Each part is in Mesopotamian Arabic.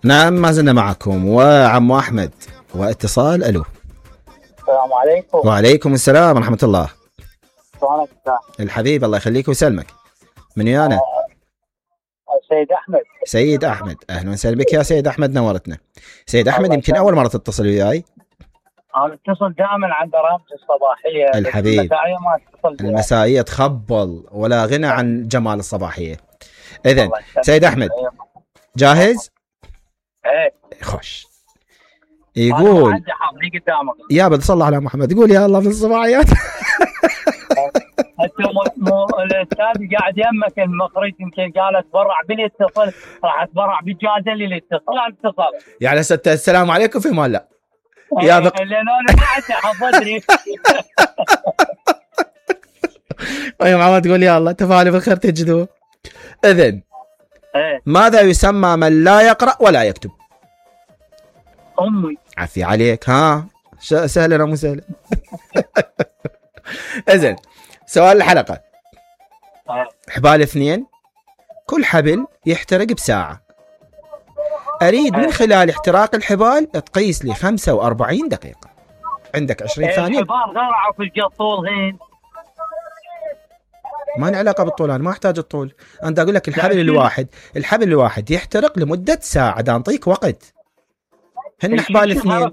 نعم ما زلنا معكم وعمو أحمد واتصال. ألو. السلام عليكم. وعليكم السلام ورحمة الله. شلونك الحبيب الله يخليك ويسلمك. من ويانا؟ سيد أحمد. سيد أحمد، أهلا وسهلا بك يا سيد أحمد، نورتنا. سيد أحمد يمكن أول مرة تتصل وياي. أنا اتصل دائما عن برامج الصباحية. الحبيب المسائية ما اتصل. المسائية تخبل ولا غنى عن جمال الصباحية. إذن سيد أحمد جاهز؟ ايه خوش. يقول يا بدي صلى على محمد، يقول يا الله في الصباحيات. الاستاذ قاعد يمك المخرج يمكن قال اتبرع بالاتصال، راح اتبرع بالجائزه اللي اتصل. يعني السلام عليكم في مال لا يا لان انا قاعد حفظني. يا محمد تقول يا الله تفالي بالخير تجدوا. اذن ماذا يسمى من لا يقرأ ولا يكتب؟ امي. عفي عليك. ها سهلا مو سهلا. اذن سؤال الحلقة. حبال اثنين، كل حبل يحترق بساعة. أريد من خلال احتراق الحبال تقيس لي 45 دقيقة. عندك 20 ثانية. الحبال غرعوا في الجطول هين. ما له علاقة بالطول، أنا ما أحتاج الطول. أنا أقول لك الحبل الواحد يحترق لمدة ساعة. دا نعطيك وقت. هن حبال اثنين.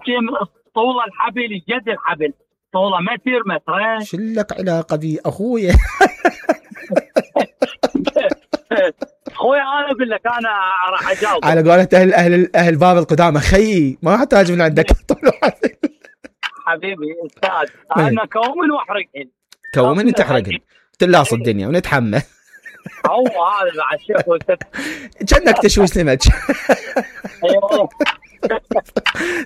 طول الحبل جد الحبل طوله متر مترين. شو لك علاقة بي أخويا؟ اخويا انا اقول لك انا راح اجاوب على قولة اهل باب القدامى. خيي ما احتاج من عندك طول حبيبي استاذ. انا كومن واحرقهن. كومن تحرقهن تلاص الدنيا ونتحمل. هو هذا مع الشيخ كأنك تشوي سمك.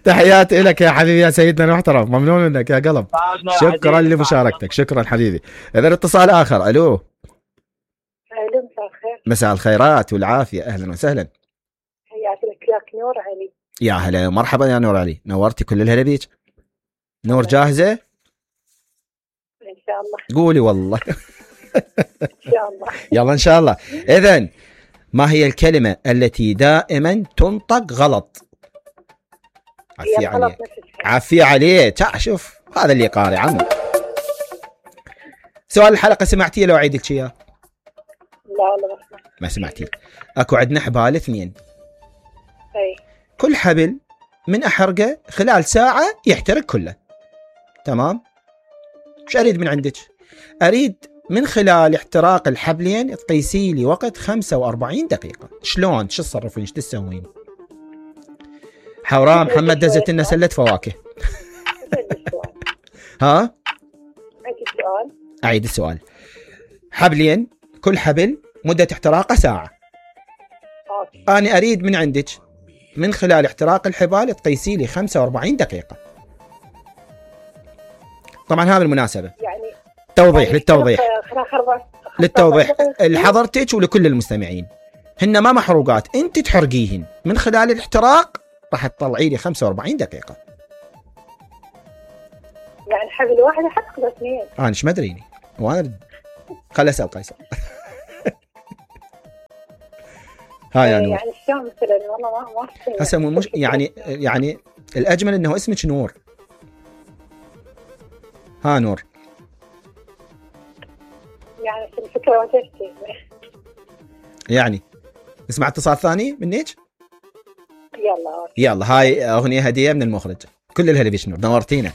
تحياتي لك يا حبيبي يا سيدنا المحترم، ممنون منك يا قلب. شكرا لمشاركتك، شكرا حبيبي. اذا اتصال اخر. الو. الو مساء الخير. مساء الخيرات والعافيه، اهلا وسهلا. حياك لك نور علي. يا هلا مرحبا يا نور علي، نورتي كل الهلا بيك. نور جاهزه؟ ان شاء الله. قولي والله. ان شاء الله. يلا ان شاء الله. اذن ما هي الكلمه التي دائما تنطق غلط؟ عفي عليك. عفي عليك. شوف هذا اللي قاري عمو. سؤال الحلقة سمعتيه لو أعيد لك إياه؟ لا ما سمعتيه. أكو عندنا حبال اثنين. أي. كل حبل من أحرقه خلال ساعة يحترق كله. تمام؟ مش أريد من عندك. أريد من خلال احتراق الحبلين تقيسي لي وقت 45 دقيقة. شلون؟ شو تصرفين؟ شو تسوين؟ حوراء محمد دزت لنا سلة فواكه. ها؟ أعيد السؤال. حبلين، كل حبل مدة احتراقه ساعة. أنا أريد من عندك من خلال احتراق الحبال تقيسي لي 45 دقيقة. طبعا هذا بالمناسبة يعني للتوضيح لحضرتك ولكل المستمعين. هن ما محروقات، انت تحرقيهن من خلال الاحتراق راح تطلعي لي 45 دقيقة. يعني حبل واحد احرق اثنين. انا ايش مدريني وانا خل اسال قيصر. ها يا نور. يعني شلون مثلا والله ما هسه مش يعني الاجمل انه اسمك نور. ها نور. يعني الفكرة وجهتي. يعني نسمع اتصال ثاني منك. يلا هاي اغنية هدية من المخرج. كل الهلا بيش نور، نورتينا.